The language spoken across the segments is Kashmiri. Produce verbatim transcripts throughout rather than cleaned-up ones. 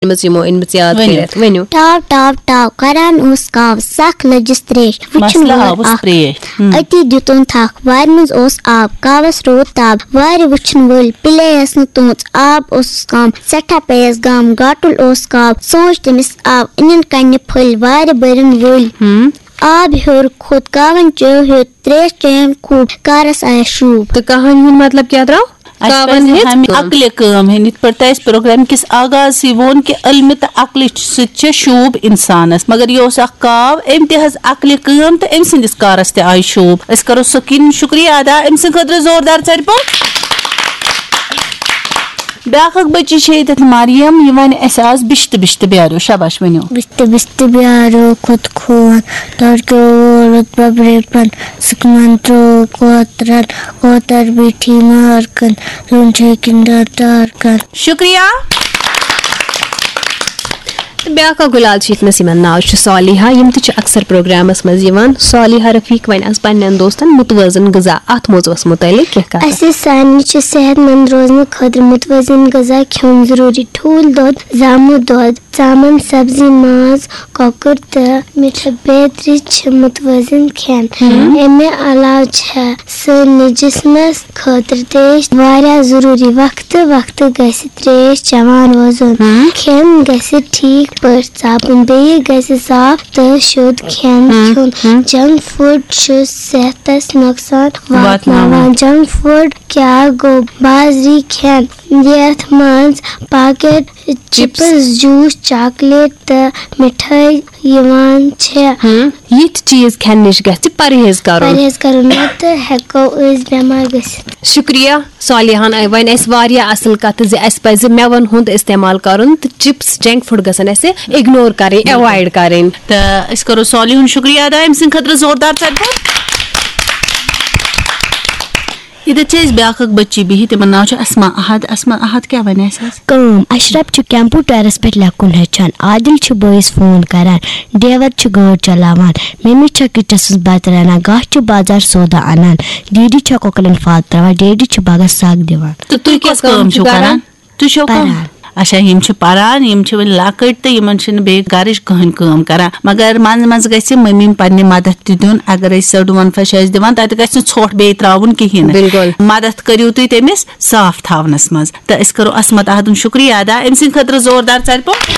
أنمٕژ، یِمو أنمٕژ یاد ؤنِو۔ کٔرِتھ۔ ؤنِو۔ ٹاو ٹاو ٹاو کران اوس کاو، سخ لٔجِس ترٛیش۔ وٕچھُن مسلہٕ وول آوُس اکھ۔ ترٛیش۔ ہُم۔ أتی دیُتُن تھکھ، وارِ منٛز اوس آب، کاوس روٗد تاب۔ وارِ وٕچھُن وٲلۍ پِلییَس نہٕ توٚژ، آب اوسُس کم، سٮ۪ٹھاہ پیٚیَس غم، گاٹُل اوس کاو۔ سونٛچ تٔمِس آو، أنِن کنہِ پھٔلۍ، وارِ بٔرِن وٲلۍ۔ ہُم۔ آب ہیوٚر کھوٚت، کاوَن چیو ہیوٚت، ترٛیش چیٚیَن خوٗب، کارَس آیَس شوٗب۔ تہٕ کہانی ہُنٛد مطلب کیٛاہ درٛاو؟ اَسہِ کاوَن پَزِ ہیٚژ ہمہِ کٲم۔ عقلہِ کٲم ہیٚنۍ، یِتھ پٲٹھۍ تۄہہِ اَسہِ پروگرام کِس آغاز سٕے ووٚن کہِ علمہِ تہٕ عقلہِ سۭتۍ چھےٚ شوٗب اِنسانَس، مگر یہِ اوس اکھ کاو، أمۍ تہِ ہیٚژ عقلہِ کٲم تہٕ أمۍ سٕنٛدِس کارَس تہِ آیہِ شوٗب۔ أسۍ کَرو سکیٖن شُکریہ ادا أمۍ سٕنٛدِ خٲطرٕ زوردار ژَرِ پوٚٹ۔ بیٛاکھ اکھ بٔچی چھےٚ ییٚتٮ۪تھ مریم، یہِ وَنہِ اَسہِ آز بِشتہٕ بِشتہٕ بیٛارو۔ شاباش، ؤنِو۔ بِشتہٕ بِشتہٕ بیٛارو کھوٚت خوٗن، تورکیو ووٚرُت ببرِ پن، سُکمن ترٛوو کوترن، کوتر بیٖٹھی مارکن، زوٗن چھے کِنڈر ٹارکن۔ شُکریہ۔ تہٕ بیٛاکھ اکھ گُلال چھِ ییٚتنَس، یِمن ناو چھُ صالحہ، یِم تہِ چھِ اکثر پروگرامس منٛز یِوان۔ صالحہ رفیق وَنہِ آز پننٮ۪ن دوستن متوازن غذا، اتھ موضوعس متعلق کینٛہہ کتھ۔ اَسہِ سارنٕے چھُ صحت مند روزنہٕ خٲطرٕ متوازن غذا کھیوٚن ضروٗری۔ ٹھوٗل دۄد، زامُت دۄد، ژامن، سبزی، ماز، کۄکُر تہٕ مِٹھٕ بیترِ چھِ متوازن کھٮ۪ن۔ ہم۔ امہِ علاوٕ چھےٚ سٲنِس جسمس خٲطرٕ ترٛیش واریاہ ضروٗری۔ وقتہٕ وقتہٕ گژھِ ترٛیش چٮ۪وان روزُن۔ ہم۔ کھٮ۪ن گژھِ ٹھیٖک پٲٹھۍ ژاپُن، بیٚیہِ گژھِ صاف تہٕ شوٚد کھٮ۪ن ہم۔ کھیوٚن۔ ہم۔ جنک فوڈ چھُ صحتس نۄقصان واتناوان۔ واتناوان۔ جنک فوڈ کیٛاہ گوٚو؟ بازری کھٮ۪ن، یتھ منٛز packet chips, chips, juice, chocolate تہٕ مِٹھٲے یِوان چھےٚ۔ ہم، یِتھۍ چیٖز کھٮ۪نہٕ نِش گژھِ پرہیز کرُن۔ پرہیز کرُن، نتہٕ ہٮ۪کو أسۍ بٮ۪مار گٔژھِتھ۔ شُکریہ صالحان، وۄنۍ اَسہِ واریاہ اَصٕل کَتھٕ زِ اَسہِ پَزِ مٮ۪وَن ہُنٛد اِستعمال کَرُن تہٕ چپس، جنک فوڈ گژھن اَسہِ اگنور کَرٕنۍ، بِلکُل۔ ایوایڈ کَرٕنۍ۔ تہٕ أسۍ کَرو صالحُن شُکریہ ادا أمۍ سٕنٛدِ خٲطرٕ زوردار ژَرِ پوٚٹ۔ ییٚتٮ۪تھ چھِ اَسہِ بیٛاکھ اکھ بٔچی بِہِتھ، تِمن ناو چھُ اسما احد۔ اسما احد کیٛاہ وَنہِ اَسہِ آز؟ کٲم۔ اشرف چھُ کمپیوٹرس پٮ۪ٹھ لیکھُن ہیٚچھان، عادل چھُ بٲیِس فون کران، ڈیور چھُ گٲڑۍ چلاوان، ممی چھےٚ کِچنس منٛز بتہٕ رنان، گاسہٕ چھُ بازار سودا انان، ڈیڈی چھےٚ کۄکرن پھل تراوان، ڈیڈی چھُ باغس سگ دِوان۔ تہٕ تُہۍ کۄس کٲم چھِو کران؟ تُہۍ چھِو کم؟ پران۔ اچھا، یِم چھِ پران، یِم چھِ وۄنۍ لۄکٕٹۍ تہٕ یِمن چھِنہٕ بیٚیہِ گرٕچ کٕہٕنۍ کٲم کران، مگر منٛزٕ منٛزٕ گژھِ مٔمی پننہِ مدد تہِ دیُن۔ اگر أسۍ سٔڑ وَنفَش آسہِ دِوان، تتہِ گژھِ نہٕ ژھۄٹھ بیٚیہِ تراوُن کِہیٖنۍ نہٕ۔ بِلکُل۔ مدد کٔرِو تُہۍ تٔمِس صاف تھاونس منٛز۔ تہٕ أسۍ کرو عصمت احدُن شُکریہ ادا أمۍ سٕنٛدِ خٲطرٕ زوردار ژَرِ پوٚٹ۔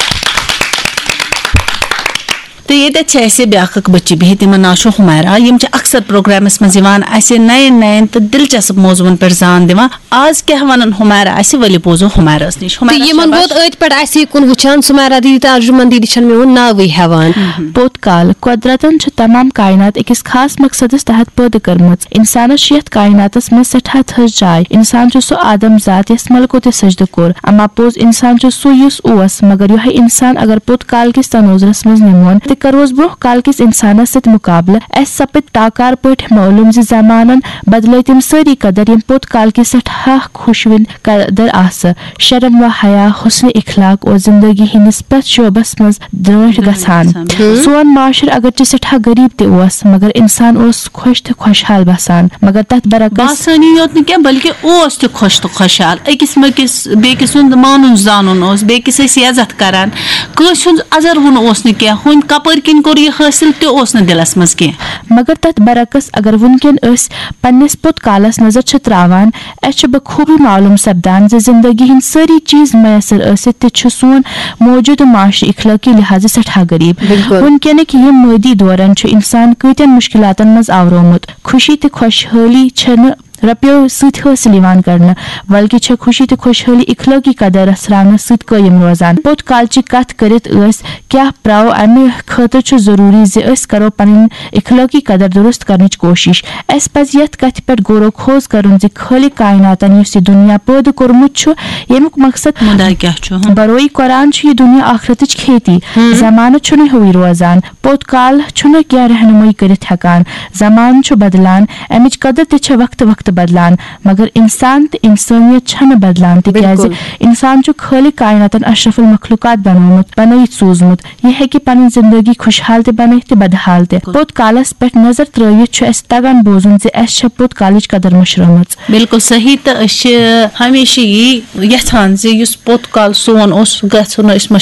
تہٕ ییٚتٮ۪تھ چھِ اَسہِ بیٛاکھ اکھ بٔچی بِہِتھ، تِمن ناو چھُ حُمیرا۔ یِم چھِ اکثر پروگرامس منٛز یِوان، اَسہِ نَین نَین تہٕ دلچسپ موضوعن پٮ۪ٹھ زان دِوان۔ آز کیٛاہ وَنن حُمیرا اَسہِ، ؤلِو بوزو حُمیراہس نِش۔ حُمیرا، تہٕ یِمن شاباش۔ ووت أتھۍ پٮ۪ٹھ اَسی کُن وٕچھان، سُمیرا دیدی تہٕ ارجُمن دیدی چھَنہٕ میون ناوٕے ہٮ۪وان۔ پوٚت کال۔ قۄدرتن چھِ تمام کائنات أکِس خاص مقصدس تحت پٲدٕ کٔرمٕژ۔ انسانس چھِ یتھ کائناتس منٛز سٮ۪ٹھاہ تھٔز جاے۔ انسان چھُ سُہ آدم ذات یس ملکوتِ سجدٕ کوٚر۔ اما پوٚز انسان چھُ سُہ یُس اوس، مگر یۄہے انسان اگر پوٚت کال کِس تنوظرس منٛز نِمون تہٕ کروس برونٛہہ کال کِس انسانس سۭتۍ مقابلہٕ، اسہِ سپد ٹاکار پٲٹھۍ معلوم زِ زمانن بدلٲے تِم سٲری قدر، یِم پوٚت کال کہِ سٮ۪ٹھاہ خۄشوٕنۍ قدر آسہٕ۔ شرم و حیا، حسن اخلاق اور زندگی ہٕنٛدِس پرٛٮ۪تھ شعبس منٛز درٛٲنٛٹھۍ گژھان۔ گژھان۔ سون معاشرٕ اگرچہِ سٮ۪ٹھاہ غریب تہِ اوس، مگر انسان اوس خۄش تہٕ خۄشحال بسان۔ مگر تتھ برعکس باسٲنی یوت نہٕ کینٛہہ، بلکہِ اوس تہِ خۄش تہٕ خۄشحال۔ أکِس مٔکِس بیٚکِس ہُنٛد مانُن زانُن اوس، بیٚکِس ٲسۍ عزت کران۔ کٲنٛسہِ ہُنٛد ازروُن اوس نہٕ کینٛہہ، ہُمۍ کپٲرۍ کِنۍ کوٚر یہِ حٲصِل تہِ اوس نہٕ دِلس منٛز کینٛہہ۔ مگر تتھ برعکس اگر وُنکٮ۪ن أسۍ پننِس پوٚت کالس نظر چھِ تراوان، اسہِ چھُ بخوبی معلوم سپدان زِ زندگی ہٕنٛدۍ سٲری چیز میسر ٲسِتھ تہِ چھُ سون موجودٕ معاشرٕ اخلٲقی لحاظہٕ سٮ۪ٹھاہ غریب۔ بِلکُل۔ وُنکٮ۪نٕکۍ یِم مٲدی دورن چھُ انسان کۭتٮ۪ن مشکلاتن منٛز آورومُت۔ خوشی تہٕ خۄشحٲلی چھنہٕ رۄپیو سۭتۍ حٲصِل یِوان کرنہٕ، بلکہِ چھےٚ خوشی تہٕ خۄشحٲلی اخلٲقی قدر رژھراونس سۭتۍ قٲیِم روزان۔ پوٚت کالچہِ کتھ کٔرِتھ أسۍ کیٛاہ پرٛاو، امہِ خٲطرٕ چھُ ضروٗری زِ أسۍ کرو پنٕنۍ اخلٲقی قدر درست کرنٕچ کوٗشش۔ اسہِ پزِ یتھ کتھِ پٮ۪ٹھ غور و خوض کرُن زِ خالق کائناتن یُس یہِ دُنیا پٲدٕ کوٚرمُت چھُ، ییٚمیُک مقصد مُدا کیٛاہ چھُ؟ ہم۔ بروئی قرآن چھُ یہِ دُنیا آخرتٕچ کھیتی۔ ہم۔ زمانہٕ چھُنہٕ ہیوٗے روزان۔ پوٚت کال چھُنہٕ کینٛہہ رہنمٲیی کٔرِتھ ہٮ۪کان۔ زمانہٕ چھُ بدلان، امِچ قدر تہِ چھےٚ وقتہٕ وقتہٕ بدلان، مگر انسان تہٕ انسٲنیت چھنہٕ بدلان، تِکیازِ بِلکُل۔ انسان چھُ خالق کائناتن اشرف المخلوقات بنومُت، بنٲیِتھ سوٗزمُت۔ یہِ ہیٚکہِ پنٕنۍ زندگی خۄشحال تہِ بنٲیِتھ تہٕ بدحال تہِ۔ بِلکُل۔ پوٚت کالس پٮ۪ٹھ نظر ترٲوِتھ چھُ اسہِ تگان بوزُن زِ اسہِ چھےٚ پوٚت کالٕچ قدر مٔشرٲومٕژ۔ بِلکُل صحیح، تہٕ أسۍ چھِ ہمیشہِ یی یژھان زِ یُس پوٚت کال سون اوس، سُہ گژھِ نہٕ أسۍ مٔشراوُن۔